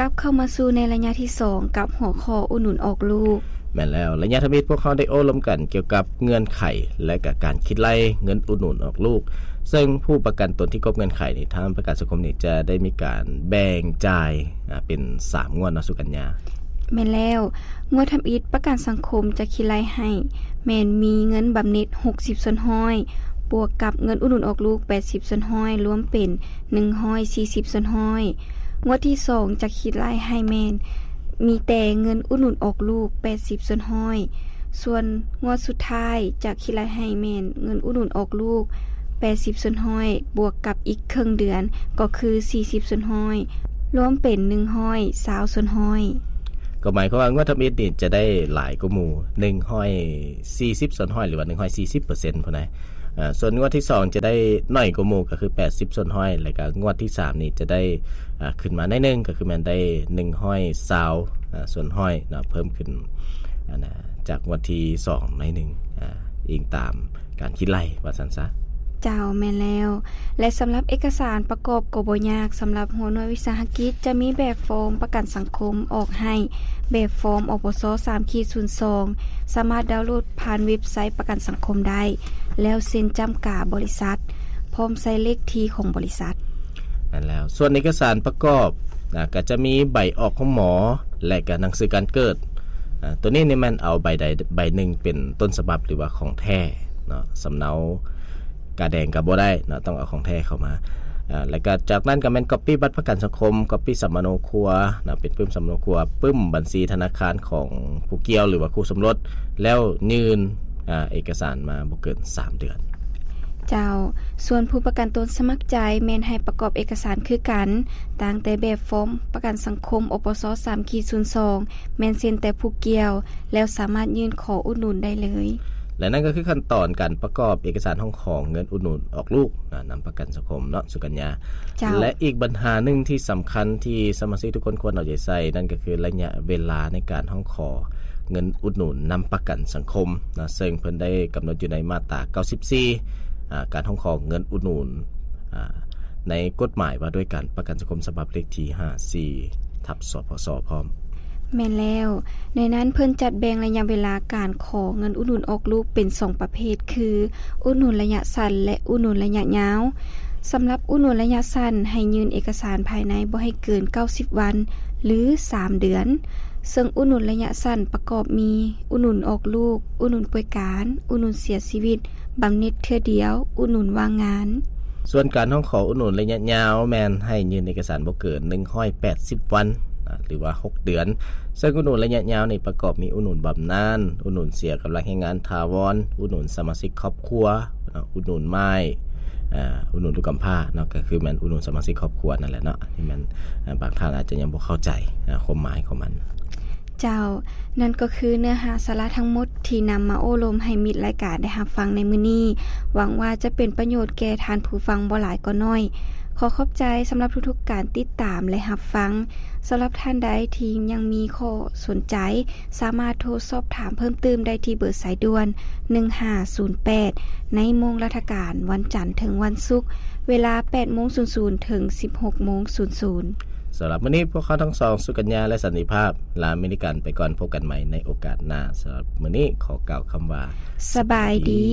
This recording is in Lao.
ກັບເຂົ້າມາສູ່ໃນໄລຍະທີສອງ ກັບຫົວຂໍ້ອຸດໜູນອອກລູກ. ແມ່ນແລ້ວ, ໄລຍະທຳອິດພວກເຮົາໄດ້ໂອ້ລົມກັນກ່ຽວກັບເງື່ອນໄຂ ແລະ ກະການຄິດໄລ່ເງິນອຸດໜູນອອກລູກ, ເຊິ່ງຜູ້ປະກັນຕົນທີ່ຄົບເງື່ອນໄຂນີ້ ທາງປະກັນສັງຄົມນີ້ຈະໄດ້ມີການແບ່ງຈ່າຍ ອາ ເປັນສາມງວດເນາະ ສຸກັນຍາ. ແມ່ນແລ້ວ, ງວດທຳອິດປະກັນສັງຄົມຈະຄິດໄລ່ໃຫ້ ແມ່ນມີເງິນບຳເນັດຫົກສິບສ່ວນຮ້ອຍ ບວກກັບເງິນອຸດໜູນອອກລູກແປດສິບສ່ວນຮ້ອຍ ລວມເປັນໜຶ່ງຮ້ອຍສີ່ສິບສ່ວນຮ້ອຍ. ງວດທີສອງຈະຄິດໄລ່ໃຫ້ແມ່ນມີແຕ່ເງິນອຸດໜູນອອກລູກແປດສິບສ່ວນຮ້ອຍ ສ່ວນງວດສຸດທ້າຍຈະຄິດໄລ່ໃຫ້ແມ່ນເງິນອຸດໜູນອອກລູກແປດສິບສ່ວນຮ້ອຍ ບວກກັບອີກເຄິ່ງເດືອນ ກໍຄືສີ່ສິບສ່ວນຮ້ອຍ ລວມເປັນໜຶ່ງຮ້ອຍຊາວສ່ວນຮ້ອຍ. ກໍໝາຍຄວາມວ່າງວດທຳອິດນີ້ຈະໄດ້ຫຼາຍກວ່າໝູ່ ໜຶ່ງຮ້ອຍສີ່ສິບສ່ວນຮ້ອຍ ຫຼືວ່າໜຶ່ງຮ້ອຍສີ່ສິບເປີເຊັນພຸ້ນນະ. ອາ ສ່ວນງວດທີສອງຈະໄດ້ໜ້ອຍກວ່າໝູ່ ກໍຄືແປດສິບສ່ວນຮ້ອຍ ແລ້ວກໍງວດທີສາມນີ້ຈະໄດ້ ອາ ຂຶ້ນມາໜ້ອຍໜຶ່ງ ກໍຄືແມ່ນໄດ້ໜຶ່ງຮ້ອຍຊາວ ອາ ສ່ວນຮ້ອຍເນາະ ເພີ່ມຂຶ້ນ ອັນນະ ຈາກງວດທີສອງໜ້ອຍໜຶ່ງ ອາ ອີງຕາມການຄິດໄລ່ວ່າຊັ້ນຊະ. ເຈົ້າ, ແມ່ນແລ້ວ. ແລະ ສຳລັບເອກະສານປະກອບກໍບໍ່ຍາກ, ສຳລັບຫົວໜ່ວຍວິສາຫະກິດຈະມີແບບຟອມປະກັນສັງຄົມອອກໃຫ້, ແບບຟອມ ອປສ ສາມຂີດສູນສອງ ສາມາດດາວໂຫຼດຜ່ານເວັບໄຊປະກັນສັງຄົມໄດ້ ແລ້ວເຊັນຈ້ຳກາບໍລິສັດ ພ້ອມໃສ່ເລກທີຂອງບໍລິສັດ. ແມ່ນແລ້ວ. ສ່ວນເອກະສານປະກອບນະ ກໍຈະມີໃບອອກໂຮງໝໍ ແລະ ກະໜັງສືການເກີດ. ອາ ຕົວນີ້ນີ້ແມ່ນເອົາໃບໃດໃບໜຶ່ງເປັນຕົ້ນສະບັບ ຫຼືວ່າຂອງແທ້ເນາະ, ສຳເນົາກາແດງກໍບໍ່ໄດ້ເນາະ, ຕ້ອງເອົາຂອງແທ້ເຂົ້າມາ. ອາ ແລ້ວກໍຈາກນັ້ນກໍແມ່ນກັອບປີ້ບັດປະກັນສັງຄົມ, ກັອບປີ້ສຳມະໂນຄົວເນາະ, ເປັນປຶ້ມສຳມະໂນຄົວ, ປຶ້ມບັນຊີທະນາຄານຂອງຜູ້ກ່ຽວ ຫຼືວ່າຄູ່ສົມລົດ, ແລ້ວຍື່ນ ອາ ເອກະສານມາບໍ່ເກີນສາມເດືອນ. ເຈົ້າ, ສ່ວນຜູ້ປະກັນຕົນສະໝັກໃຈແມ່ນໃຫ້ປະກອບເອກະສານຄືກັນ, ຕັ້ງແຕ່ແບບຟອມປະກັນສັງຄົມ ອປສ ສາມຂີດສູນສອງ ແມ່ນເຊັນແຕ່ຜູ້ກ່ຽວ ແລ້ວສາມາດຍື່ນຂໍອຸດໜູນໄດ້ເລີຍ. ແລະ ນັ້ນກໍຄືຂັ້ນຕອນການປະກອບເອກະສານຮ້ອງຂໍເງິນອຸດໜູນອອກລູກນະ ນຳປະກັນສັງຄົມເນາະ ສຸກັນຍາ. ເຈົ້າ. ແລະ ອີກບັນຫາໜຶ່ງທີ່ສຳຄັນທີ່ສະມາຊິກທຸກຄົນຄວນເອົາໃຈໃສ່ ນັ້ນກໍຄືໄລຍະເວລາໃນການຮ້ອງຂໍເງິນອຸດໜູນນຳປະກັນສັງຄົມນະ, ເຊິ່ງເພິ່ນໄດ້ກຳນົດຢູ່ໃນມາດຕາເກົ້າສິບສີ່ ອາ ການຮ້ອງຂໍເງິນອຸດໜູນ ອາ ໃນກົດໝາຍວ່າດ້ວຍການປະກັນສັງຄົມ ສະບັບເລກທີຫ້າສິບສີ່ທັບ ສພສ ພ້ອມ. ແມ່ນແລ້ວ. ໃນນັ້ນເພິ່ນຈັດແບ່ງໄລຍະເວລາການຂໍເງິນອຸດໜູນອອກລູກເປັນສອງປະເພດ ຄື ອຸດໜູນໄລຍະສັ້ນ ແລະ ອຸດໜູນໄລຍະຍາວ. ສຳລັບອຸດໜູນໄລຍະສັ້ນ ໃຫ້ຍື່ນເອກະສານພາຍໃນບໍ່ໃຫ້ເກີນເກົ້າສິບວັນ ຫຼື ສາມເດືອນ, ເຊິ່ງອຸດໜູນໄລຍະສັ້ນປະກອບມີ ອຸດໜູນອອກລູກ, ອຸດໜູນປ່ວຍການ, ອຸດໜູນເສຍຊີວິດ, ບຳເນັດເທື່ອດຽວ, ອຸດໜູນວ່າງງານ. ສ່ວນການຮ້ອງຂໍອຸດໜູນໄລຍະຍາວ ແມ່ນໃຫ້ຍື່ນເອກະສານບໍ່ເກີນໜຶ່ງຮ້ອຍແປດສິບວັນ ນະ ຫຼືວ່າຫົກເດືອນ, ເຊິ່ງອຸດໜູນໄລຍະຍາວນີ້ປະກອບມີອຸດໜູນບຳນານ, ອຸດໜູນເສຍກຳລັງແຮງງານຖາວອນ, ອຸດໜູນສະມາຊິກຄອບຄົວເນາະ, ອຸດໜູນໝ້າຍ ອາ ອຸດໜູນລູກກຳພ້າເນາະ, ກໍຄືແມ່ນອຸດໜູນສະມາຊິກຄອບຄົວນັ້ນແຫຼະເນາະ. ອັນນີ້ແມ່ນ ອາ ບາງທ່ານອາດຈະຍັງບໍ່ເຂົ້າໃຈ ອາ ຄວາມໝາຍຂອງມັນ. ເຈົ້າ, ນັ້ນກໍຄືເນື້ອຫາສາລະທັງໝົດທີ່ນຳມາໂອ້ລົມໃຫ້ມິດລາຍການໄດ້ຮັບຟັງໃນມື້ນີ້. ຫວັງວ່າຈະເປັນປະໂຫຍດແກ່ທ່ານຜູ້ຟັງບໍ່ຫຼາຍກໍໜ້ອຍ. ຂໍຂອບໃຈສຳລັບທຸກໆການຕິດຕາມ ແລະ ຮັບຟັງ. ສຳລັບທ່ານໃດທີ່ຍັງມີຂໍ້ສົນໃຈ, ສາມາດໂທສອບຖາມເພີ່ມຕື່ມໄດ້ທີ່ເບີສາຍດ່ວນ ໜຶ່ງຫ້າສູນແປດ ໃນໂມງລາຊະການ ວັນຈັນເຖິງວັນສຸກ ເວລາ ແປດໂມງສູນສູນ ເຖິງ ສິບຫົກໂມງສູນສູນ. ສຳລັບມື້ນີ້ ພວກເຮົາທັງສອງ ສຸກັນຍາ ແລະ ສັນຕິພາບ ລາເມລິກັນໄປກ່ອນ. ພົບກັນໃໝ່ໃນໂອກາດໜ້າ. ສຳລັບມື້ນີ້ ຂໍກ່າວຄຳວ່າ ສະບາຍດີ.